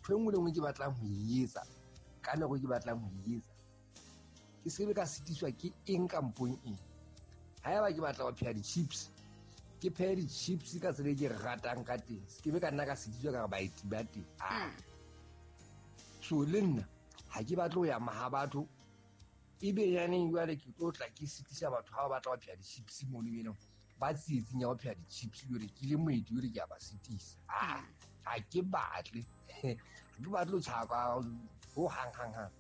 Ntho e nngwe le nngwe ke batlang ho e etsa ka nako ke batlang ho e etsa, ke se be ka sitiswa ke eng kampong eng. Haeba ke batla ho pheha di-chips, ke phehe di-chips ka tsela e ke ratang ka teng, se ke be ka nna ka sitiswa ka re baeti ba teng. So le nna ha ke batle ho ya maha batho, ebe yaneng jwale ke tlo tla ke sitisa batho ha ba batla ho pheha di-chips mono, ebe leng ba tsietsing ya ho pheha di-chips, jwale ke le moeti, jwale ke a ba sitisa. Ha ke batle, ha ke batle ho tjhaka ho hang hang hang.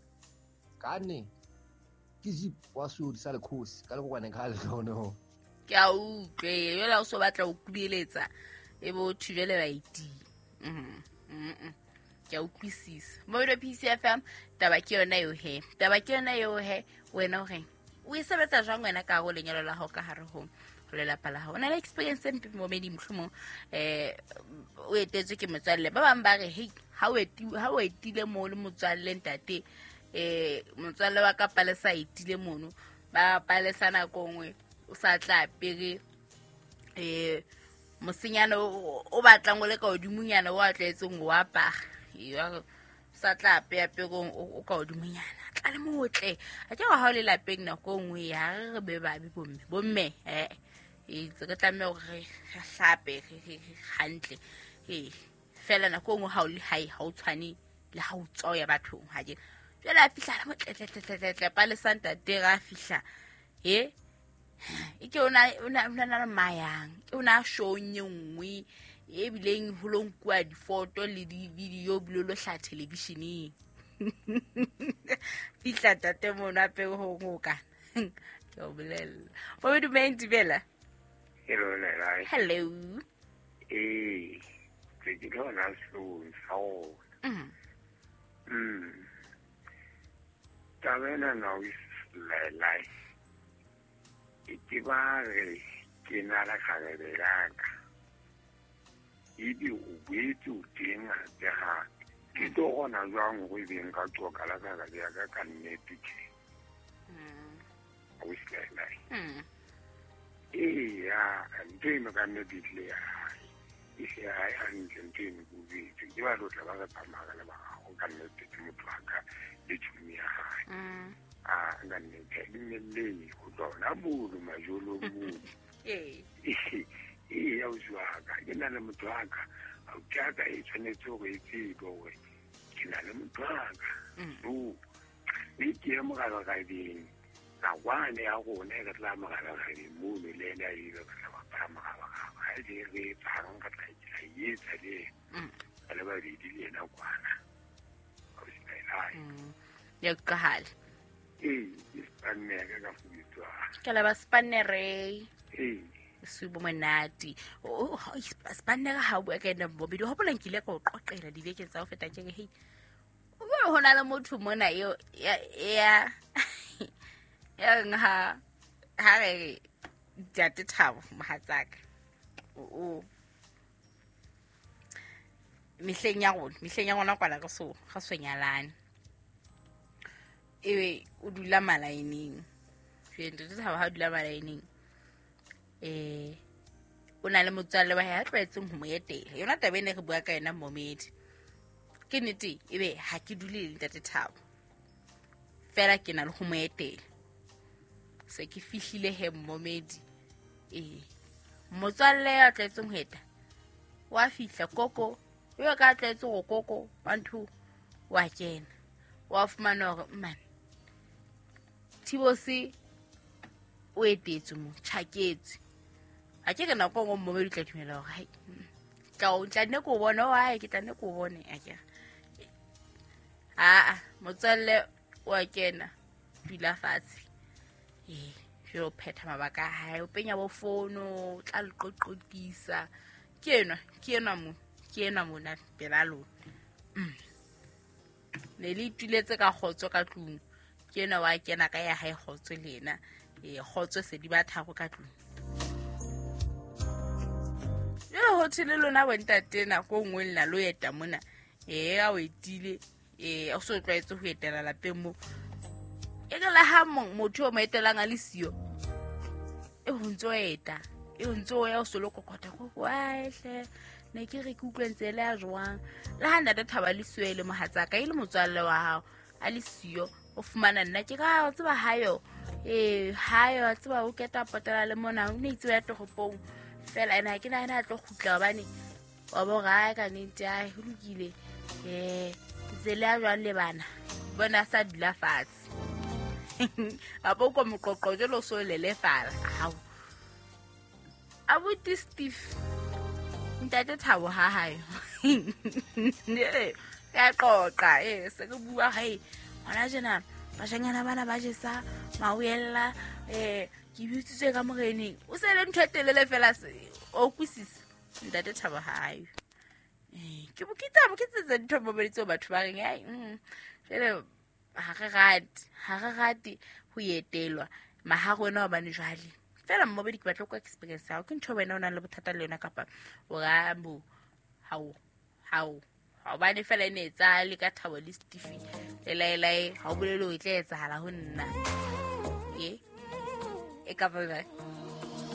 Ka nne ke jeep wa seodi sa lekgosi ka lekokwaneng ka lehlone ho. Ke a utlwe, jwale ha o so batla ho kubeletsa e bo thubele baeti. Ke a utlwisisa. Mobile PCFM, taba ke yona eo he. Taba ke yona eo he, wena o reng? O e sebetsa jwang wena ka hare ho lenyalo la hao, ka hare ho lelapa la hao? O na le experience e mpe momedi mohlomong, o etetswe ke motswalle. Ba bang ba re, hei, ha o etile moo le motswalle ntate, motswalle wa ka Palesa a etile mono, ba Palesa nako nngwe o sa tla apere, mosenyana o batlang o le ka hodimonyana o a tlwaetseng ho apara. Ee, sa tla apeya perong o ka hodimonyana. Tla le motle. A ke ha o le lapeng nako e nngwe ya re re be babe bomme. Bomme, itse re tlameha hore re hlape, re hantle. Ee, fela nako e nngwe ha o le hae, ha o tshwane le ha o tswa o ya bathong, ha ke. Jwale a fihla le motle, tle, tle, tle, tle, tle, Palesa ntate ra fihla. He? E ke o na le mayang, ke o na showng e nngwe e bileng ho lo nkuwa difoto le di-video bile lo hlaha television-eng. Fihla tate mono apere ho ngoka. Ke o bolella. Bo dumeng Tibela. Hello, Lelai. Hello. Ee, ke ke lona sehloohong sa rona. Taba ena na o Lelai. E ke ba re ke na le kgarebe ya ka. Ebe o boetse o teng hape hape. Ke tlo kgona jwang hore ebe nka qoqa le kgarebe ya ka ka nnete tje? Ausi Lelai. Eya, ntho eno ka nnete e tlile ya hae. E se ya hae hantle ntho eno ke utlwetse. Ke ba tlo tla ba re tsamaya le ba gago ka nnete ke motho wa ka le tšhomi ya hae. A ka nnete ha e dumelleye ho tloha hona mono majolong mono. Ee, ausi wa ka, ke na le motho wa ka. Ausi wa ka e tshwanetse hore e tsebe hore ke na le motho wa ka. So, mme ke ye morabarabeng, nakwane ya rona e re tla morabarabeng mono le ena e re tla bapala morabaraba. Ha e le re etsang, re tla e etsa le ena. Re le babedi le ena kwana. Ausi Lelai. Ya utlwahala. Ee, ke spannere ka fubetswa. Ke leba spannere. Ee. Subo monate. Oh, spannere ha o bua ka ena bobedi. Hopola nkile ka o qoqela dibekeng tsa ho feta ke re, hei, o bone ho na le motho mona eo ya ya reng ha re re Ntate Thabo mohatsaka. O mehleng ya rona, mehleng ya rona kwana re so, re so nyalane. Ebe o dula malaeneng. Jwale Ntate Thabo ha o dula malaeneng, o na le motswalle wa hae a tlwaetseng ho mo etela. Yona taba ena re bua ka yona momedi. Ke nnete ebe ha ke dule le Ntate Thabo. Fela ke na le ho mo etela. Se ke fihlile he momedi. Motswalle ya tlwaetseng ho eta wa fihla koko, yo ka tlwaetse go koko wa ntho wa kena. Wa fumana hore mmane Thibose o etetswe mo, tjhaketswe. Ha ke re nako e nngwe momedi o tla dumela hore, hai, tla nne ke o bone, oh, hai, ke tla nne ke o bone, a ke re. Aa, motswalle wa kena, dula fatshe. Jwale o phetha mabaka a hae, o penya bo fono, o tla le qoqotisa. Ke enwa, ke enwa mo, ke enwa mona pela lona. Ne le ituletse ka kgotso ka tlung. Ke enwa wa kena ka ya hae kgotso le yena. Kgotso se di ba tharo ka tlung. Jwale ho thwe le lona bontate nako e nngwe le na lo eta mona. A o etile. O so tlwaetse ho etela lapeng moo. E re le ha motho o mo etelang a le siyo, e ho ntso eta, e ho ntso ya o so lo kokota ko, wa hle. Ne ke re ke utlwe ntse le ya jwang. Le ha ntate Thabo le siyo e le mohatsaka, e le motswalle wa hao, a le siyo, o fumana nna ke ka o tseba hayo. Hayo tseba o keta potela le mona, o ne itse ya toropong. Fela ena ha ke nahana a tlo kgutla hobane wa bo ra ka nnete, ai ho lokile. Ntse le ya jwang le bana? Bona sa dula fatshe. Kapa o kwa moqoqo jwalo o so lelefala. Hao. Abuti Steve, ntate Thabo ha hae. Ka qoqa, se re bua hae. Hona tjena bashanyana bana ba jesa mawella, ke bitsitswe ka moreneng. O se le ntho e telele fela se o kwisisa ntate Thabo ha hae. Ke bokitsa ke tse ntho mo tseo batho ba reng ai, jwale ha re rate ho etelwa maha rona hobane jwale fela mmobedi ke batla kwa experience ya ke ntho wena o nang le bothata le yona kapa o ra bo hao hobane fela e ne etsahale ka Thabo le Steve le laelae ha o bolele o e tla etsahala ho nna e ka ba.